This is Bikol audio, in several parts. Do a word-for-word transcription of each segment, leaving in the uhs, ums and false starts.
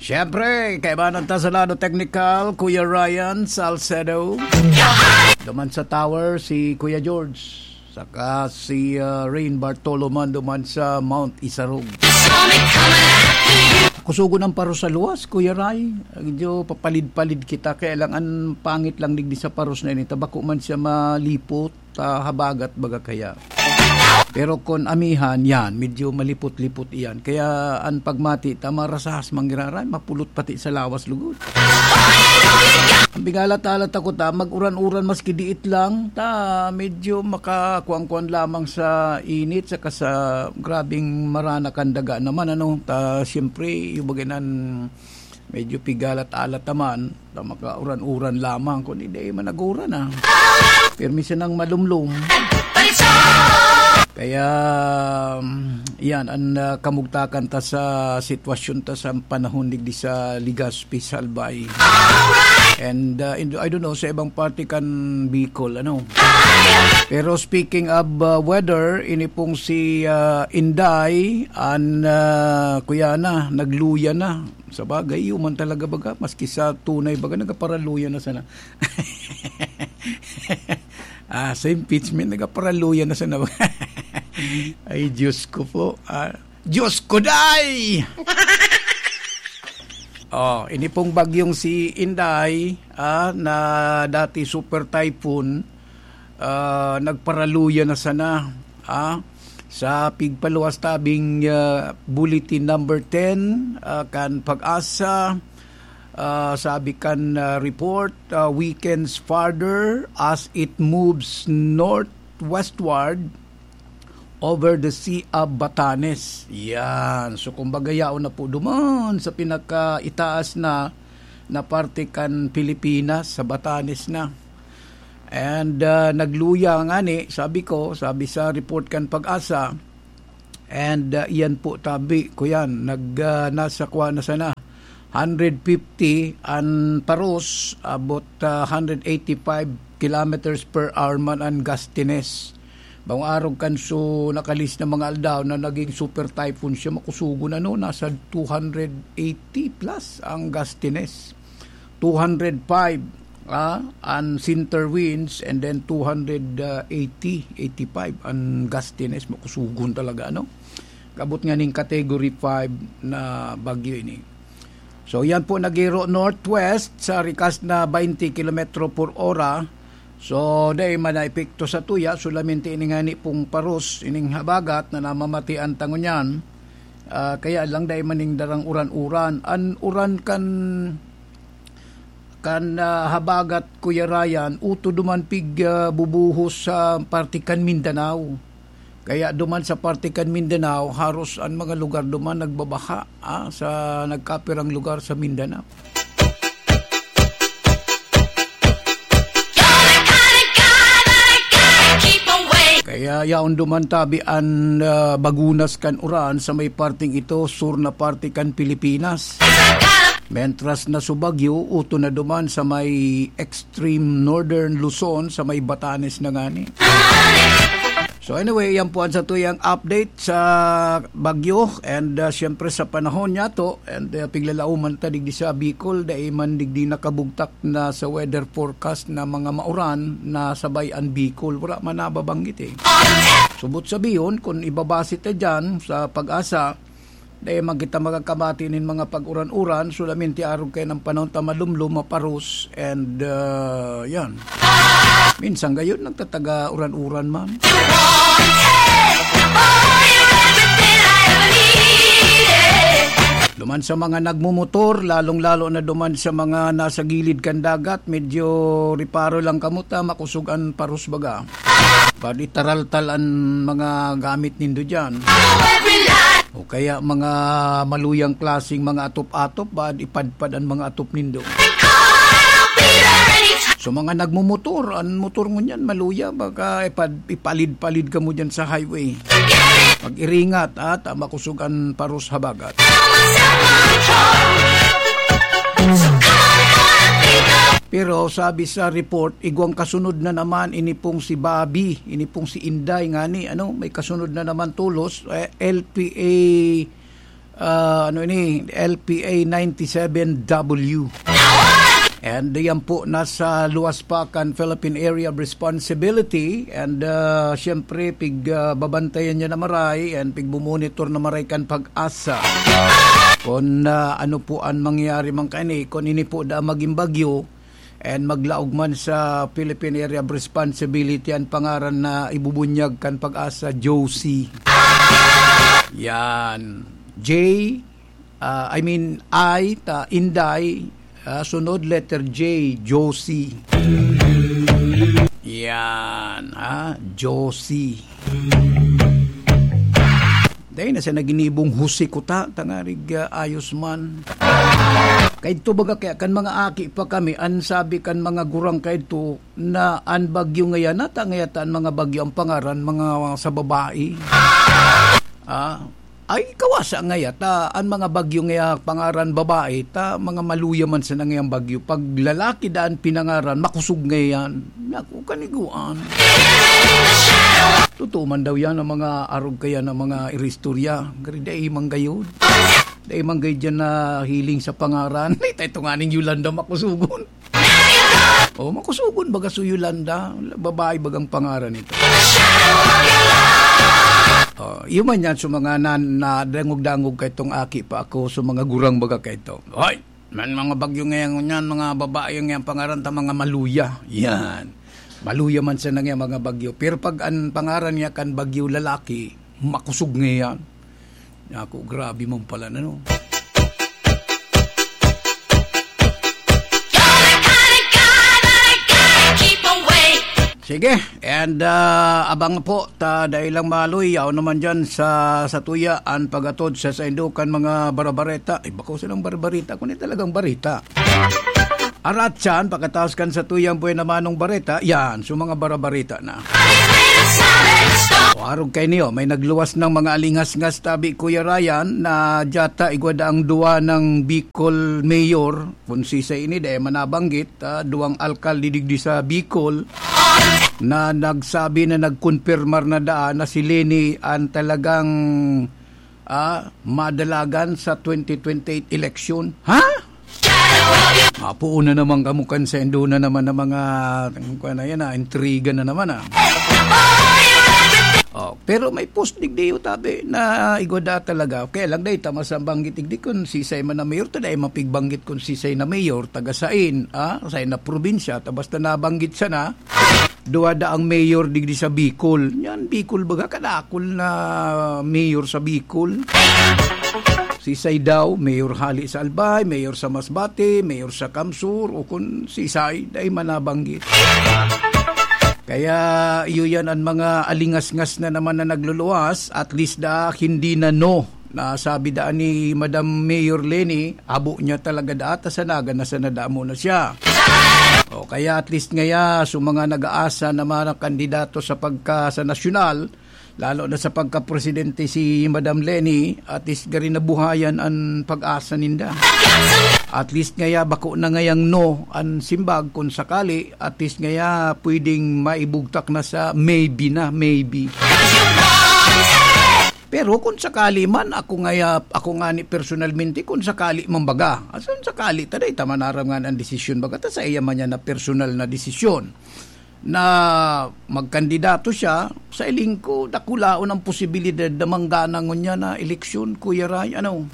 Siyempre, kaibanan ta sa lado teknikal, Kuya Ryan Salcedo. Duman sa tower, si Kuya George. Saka si, ah, Rain Bartolo man duman sa Mount Isarog. Kusugon ang paros sa luwas, Kuya Ray. Medyo papalid-palid kita. Kaya lang, ang pangit lang digdi sa paros na ini, ta bako man siya malipot, ta habagat baga kaya. Pero kun amihan, yan, medyo malipot-lipot iyan. Kaya ang pagmati ta, marasahas manggiraray, mapulot pati sa lawas lugod. Ang bigala ta, alat ako ta, mag-uran-uran maski diit lang, ta medyo makakuan-kuan lamang sa init, saka sa grabing marana kan daga naman, ano. Ta, siyempre, yung bagay nan medyo pigalat-alat naman, ta makauran-uran lamang, kun hindi man nag-uran, ah. Pirmi siya ng malumlum. Kaya, mm, yan, ang, ah, kamugtakan ta sa sitwasyon ta sa panahon digdi sa Legazpi, Albay. And, ah, in-, I don't know, sa ibang parte kan Bicol, ano. Pero speaking of, ah, weather, ini pong si, ah, Inday, an, ah, kuya na, nagluya na. Sa bagay, iyo man talaga baga, maski sa tunay baga, nagaparaluya na sana. Ah, sa impeachment, nagaparaluya na sana. Ay, Diyos ko po. Ah, Diyos ko, day! Oh, ini pong bagyong si Inday, ah, na dati super typhoon, ah, nagparaluya na sana, ah. Sa pigpaluwas tabing, ah, bulletin number ten, ah, kan Pag-asa, ah, sabi kan, ah, report, ah, weakens further as it moves northwestward over the Sea of Batanes. Yan. So, kumbaga, yaon na po duman sa pinakaitaas na, na parte kan Pilipinas, sa Batanes na. And, ah, nagluya ngani, sabi ko, sabi sa report kan Pag-asa, and, ah, iyan po, tabi ko yan, nag, ah, nasa kwa na sana, hundred fifty an paros, about, ah, hundred eighty-five kilometers per hour man an gustiness. Bang arog kan so nakalis na mga aldaw na naging super typhoon siya, makusugon ano, nasa two hundred eighty plus ang gustiness. Two hundred five, ah, an center winds, and then two hundred eighty, eighty-five an gustiness, makusugon talaga, ano? Kabot nga ning category five na bagyo ini. So, yan po, nagiro northwest sa rikas na twenty kilometro por ora. So, dai man na epekto sa tuya, solamente ini ngani pong paros, ining habagat na namamatian ta ngunyan. Ah, kaya lang dai man ning darang uran-uran. An uran kan, kan, ah, habagat, Kuya Ryan, uto duman pig, ah, bubuhos sa parte kan Mindanao. Kaya duman sa parte kan Mindanao, haros an mga lugar duman nagbabaha, ah, sa nagkapirang lugar sa Mindanao. Kaya yaon duman tabi an, ah, bagunas kan uran sa may parteng ito, sur na parte kan Pilipinas. Mentras na subagyo, uto na duman sa may extreme northern Luzon, sa may Batanes na ngani. So anyway, yan po ang sa tuyang update sa bagyo and, ah, siyempre sa panahon niya to. And, ah, piglalauman ta digdi sa Bicol, dai man digdi nakabugtak na sa weather forecast na mga mauran na sabay an Bicol. Wala man nababanggit eh. Subot sabihon, kung ibabase ta dyan sa Pag-asa, dai man kita magkakamati nin mga pag-uran-uran, solamente arog kayo ng panahon ta malumlom, maparos, and, ah, yan. Minsan gayon, nagtataga uran-uran man. Duman sa mga nagmumotor, lalong-lalo na duman sa mga nasa gilid kan dagat, medyo reparo lang kamo ta, makusog an paros baga. Pwede taraltal an mga gamit nindo diyan. O kaya mga maluyang klaseng mga atop-atop, baad ipadpad an mga atop nindo. So, mga nagmumotor, an motor ngunyan maluya, baka ipad-, ipalid-palid kamo diyan sa highway. Mag-iringat, ha, ta makusog an paros habagat. Pero sabi sa report, igwang kasunod na naman ini pong si Bobby, ini pong si Inday ngani, ano, may kasunod na naman tolos, eh, L P A Ah, ano ini? L P A ninety-seven W. And yan po, nasa luwas pa kan Philippine Area of Responsibility. And, ah, siyempre, pig, ah, babantayan niya na maray and pigmumonitor na maray kan PAGASA. Kung, ah, ano po ang mangyayari man kaini, kung ini po da maging bagyo, and maglaog man sa Philippine Area of Responsibility ang pangaran na ibubunyag kan PAGASA, Josie. Yan. J, ah, I mean, I, ta, Inday, ah, sunod letter J, Josie. Yan, ha? Josie. Dai na siya naginibong Jose Kuta, tangarig, ah, ayos man. Kaidto baga kaya kan mga aki pa kami, an sabi kan mga gurang kaidto na an bagyo ngayan, nata ngaya ta an mga bagyo ang pangaran, mga sa babae. Ah, ay, kawasa ngaya ta, an mga bagyo ngaya pangaran babae, ta mga maluya man sana ngayang bagyo. Pag lalaki daan pinangaran, makosog ngayan. Naku, kaniguan. Totoo man daw yan ang mga arog kaya ng mga iristorya. Gari, dai man gayod. Dai man gayod yan na hiling sa pangaran. Ito, ito nga ning Yolanda makusugon. Oh, makusugon baga si Yolanda. Babae bagang pangaran ito. Oh, yun man yan sa mga na, nadangog-dangog kay itong aki pa ako, sa mga gurang baga kay ito. Hoy! Man mga bagyo ngayon yan, mga babae ngayon pangaran ta mga maluya. Yan. Maluya man sana ngayon mga bagyo. Pero pag ang pangaran niya kan bagyo lalaki, makusog ngayon. Naku, grabe man pala na, no? Sige, and, ah, abang po, ta dai lang maluya o naman dyan sa, sa tuya, an pagatod sa saindo kan mga barabareta. Ay, bako silang barabareta, kundi talagang bareta. Aratsan, pakataas kan sa tuyang buhay na manong bareta, yan, so mga barabareta na. O, arog kay niyo, may nagluwas ng mga alingasngas tabi, Kuya Ryan, na dyata igwa daang duwa ng Bicol Mayor, kung sisay ini, dai man nabanggit, ah, duwang alkalde digdi sa Bicol, na nagsabi na nagkonpirmar na daan na si Leni ang talagang, ah, madalagan sa twenty twenty-eight election. Ha? Mapuon na naman kamo kan saindo na naman ng mga, ano na yan, ah, intriga na naman, ah. Oh, pero may post digdi, tabi, na igwa da talaga. Kaya lang, dai ta masambanggit digdi kung sisay man na mayor, ta dai mapigbanggit kung sisay na mayor, taga sain, ah, sain na probinsya, ta basta nabanggit siya na, duwa da ang mayor digdi sa Bicol. Yan, Bicol baga, kadakol na mayor sa Bicol. Sisay daw, mayor hali sa Albay, mayor sa Masbate, mayor sa Kamsur, o kun sisay, dai man nabanggit. Kaya iyo yan ang mga alingasngas na naman na nagluluwas, at least da, hindi na no. Nasabi daan ni Madam Mayor Leni, abo niya talaga da ata sa Naga na sa nadamo na siya. O kaya at least ngaya, so mga nag-aasa na mga kandidato sa pagka sa nasyonal, lalo na sa pagka-presidente si Madam Leni, at least gari nabuhayan an pag-asa ninda. At least ngaya, bako na ngayang no an simbag, kung sakali, at least ngaya pwedeng maibugtak na sa maybe na, maybe. Pero kung sakali man, ako ngaya, ako ngani personalmente, kung sakali man baga, asan sakali, ta dai ta man aram nga ang desisyon baga, ta sa iya man yan na personal na desisyon na magkandidato siya, sa iling ko, dakulaon ang posibilidad na manggana ngunyan na eleksyon, Kuya Ray, ano?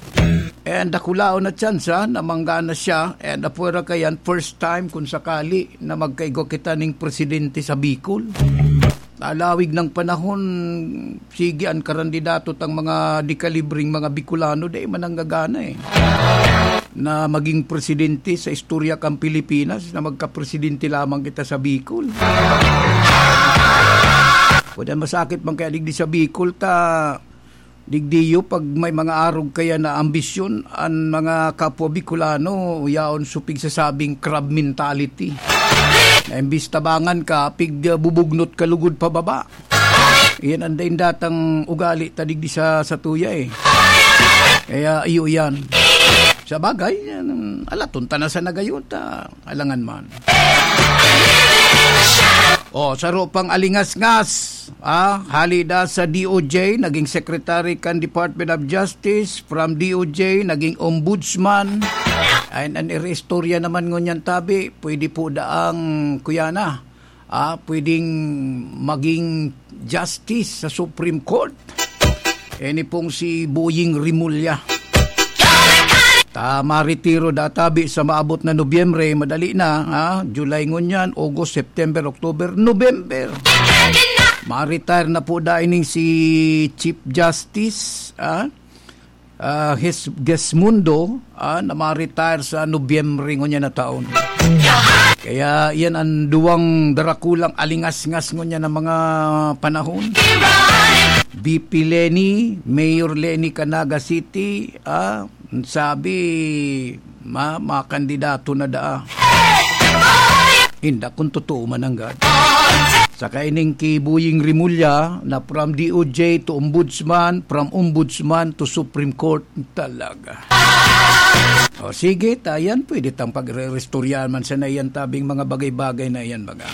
And dakulaon na tsansa na manggana siya, and apwera kayan, first time kung sakali na magkaigwa kita ning presidente sa Bicol. Alawig ng panahon, sige, ang karandidato tang mga dekalibring mga Bicolano, dai man nanggagana eh, na maging presidente sa istorya kan Pilipinas, na magkapresidente lamang kita sa Bicol. Pwede masakit man kaya digdi sa Bicol, ta digdiyo pag may mga arog kaya na ambisyon, an mga kapwa Bicolano, yaon supig sa sabing crab mentality. Na imbis tabangan ka, pig, ah, bubugnot ka lugod pababa. Iyan ang daing datang ugali ta digdi sa, sa tuya eh. Kaya iyo yan. Sa bagay, yan, alaton ta na sa nagayon ta. Alangan man. O, saro pang alingasngas, ah, hali da sa D O J, naging secretary kan Department of Justice, from D O J, naging ombudsman. Ay, an istorya naman ngunyan tabi, pwede po daang, kuya na, ah, pwedeng maging justice sa Supreme Court. Ini pong si Boying Rimulya. Ta, maretiro da tabi sa maabot na Nobyembre, madali na, ha? July ngunyan, August, September, October, November. Ma-retire na po da ining si Chief Justice, ha? Ah, Ges-, Gesmundo, ah, na ma-retire sa Nobyembre ngunyan na taon. Kaya iyan an duwang darakulang alingasngas ngunyan na mga panahon. V P Leni, Mayor Leni kan Naga City, ah, sabi, ma-, makandidato na daa. Inda kung totoo man nanggad. Saka ining ki Boying Rimulya na from D O J to Ombudsman, from Ombudsman to Supreme Court, talaga. O sige, ta yan, pwede tang pagre-restoryahan man sana yan tabing mga bagay-bagay na yan, baga.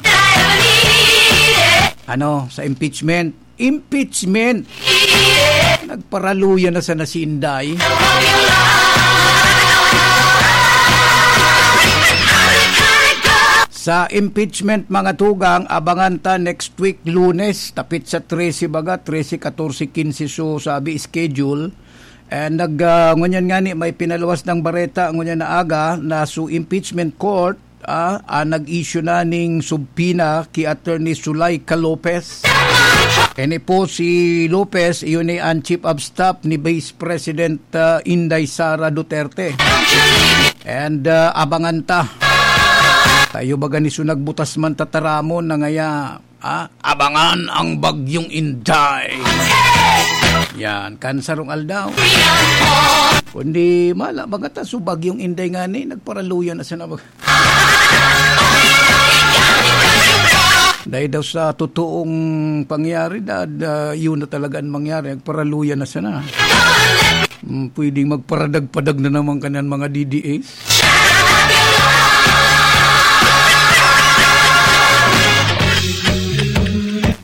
Ano, sa impeachment? Impeachment! Nagparaluya na sana si Inday. Sa impeachment, mga tugang, abangan ta next week, Lunes, tapit sa trese baga, trese, katorse, kinse, so sabi schedule. And nag, ah, ngunyan nga ni, may pinaluwas ng bareta, ngunyan na aga, na su impeachment court, ah, ah, nag-issue na ning subpoena ki Attorney Zuleika Lopez. Ini po si Lopez, iyon ni ang Chief of Staff ni Vice President, ah, Inday Sara Duterte. And, ah, abangan ta. Tayo baga ni su nagbutas man tataramon na ngaya, ah, abangan ang Bagyong Inday. Yan, kan sarong aldaw. Kundi mala, baga ta su Bagyong Inday nga ni, nagparaluya na sana baga. Dahil daw sa totoong pangyayari, da, da, yun na talaga ang mangyari, nagparaluya na sana. Mm, pwedeng magparadag-padag na naman kanan mga D D S.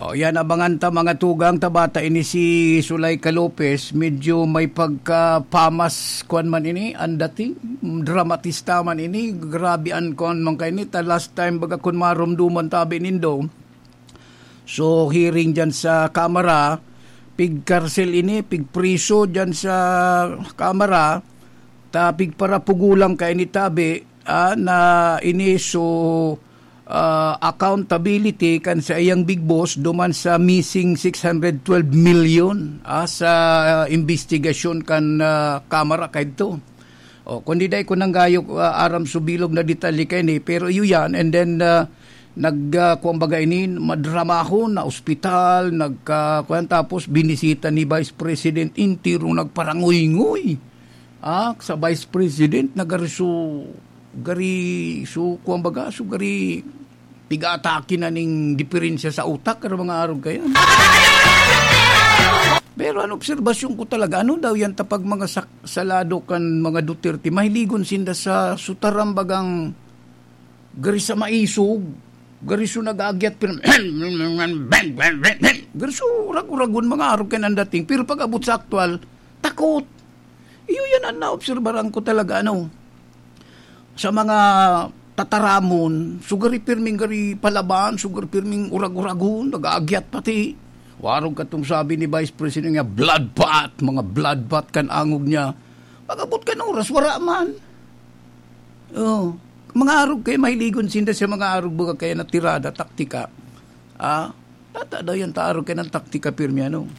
O, yan, abangan ta, mga tugang, ta bata ini si Zuleika Lopez, medyo may pagka-pamas, kwan man ini, ang dating, dramatista man ini, grabe an kwan man kaini, ta last time, baga kun marumduman tabi nindo, so, hearing dyan sa Kamara, pigkarsel ini, pigpriso dyan sa Kamara, ta pigparapugulang kaini tabi, ah, na ini, so, ah, accountability kan saiyang big boss duman sa missing six hundred twelve million, ah, sa, ah, investigasyon kan, ah, Kamara kaidto. O, kundi dai ko nanggayo, ah, aram su bilog na detalye kaini, pero iyo yan, and then, ah, nag, ah, kuwan baga ini, madramahon, na ospital, nagka-, kuwan, tapos binisita ni Vice President, entero nagparanguyngui. Ah, sa Vice President, na gari su, gari su, kuwan baga, su gari piga-atake na ning diferensya sa utak, kan mga arog kaya. Pero an obserbasyon ko talaga, ano daw yan ta pag mga sak-, salado kan mga Duterte, mahiligon sinda sa sutaran bagang gari sa maisog, gari so nag-aagyat, pero gari so urag-uragon mga arog kan an dating. Pero pag-abot sa aktuwal, takot. Iyo yan an naobserbaran ko talaga, ano, sa mga tataramon, so gari pirming gari palaban, so gari pirming urag-uragon, nag-aagyat pati. Warog katong sabi ni Vice President nga, "Bloodbath, mga bloodbath kan angog niya." Pag-abot kan oras, wara man. Oh, mga arog kay mahiligon sinda sa mga arog baga kaya na tirada, taktika. Ah, tata daw yan ta arog kay ng taktika pirmi, ano.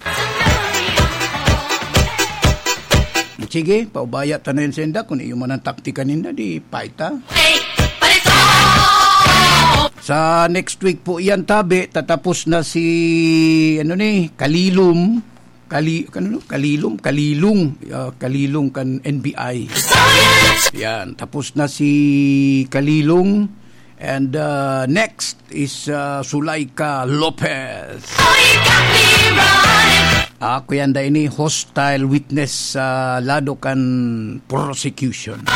Sige, paubaya ta na yan sa inda. Kung iyo man ang taktika ninda, di paita. Sa next week po yan, tabi, tatapos na si, ano ni, Kalilom. Kali-, ano, no? Kalilom, Kalilong. Ah, Kalilong kan N B I. Yan, tapos na si Kalilong. And, uh, next is, uh, Zuleika Lopez. Oh, you got me running. Ako yan, dai ini hostile witness sa lado kan prosecution.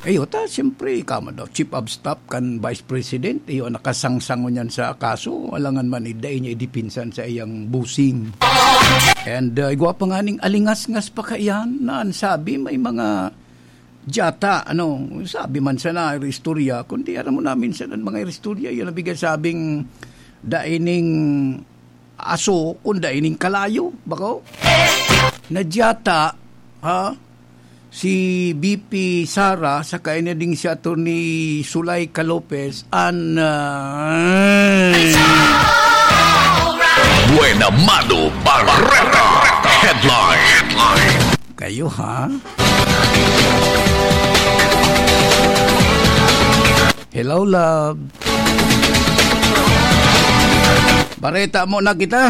Iyo ta, siyempre, ika man daw, chief of staff kan vice president, iyo, nakasangsang ngunyan sa kaso, alangan man, eh, dai niya idipinsan sa iyang busing. And, uh, igwa pa nga ning alingasngas pa kaiyan na an sabi, may mga dyata, ano, sabi man sana, istorya, kundi aram mo na minsan ang mga istorya, yun ang bigay sabing dai ning aso, kung dai ning kalayo, bako? Na dyata, ha? Si V P Sara, saka ini ding si Attorney Sulay Calopez, an, ah, Buena Mano Barreta Headline. Kayo, ha? Hello, love. Bareta mo na kita.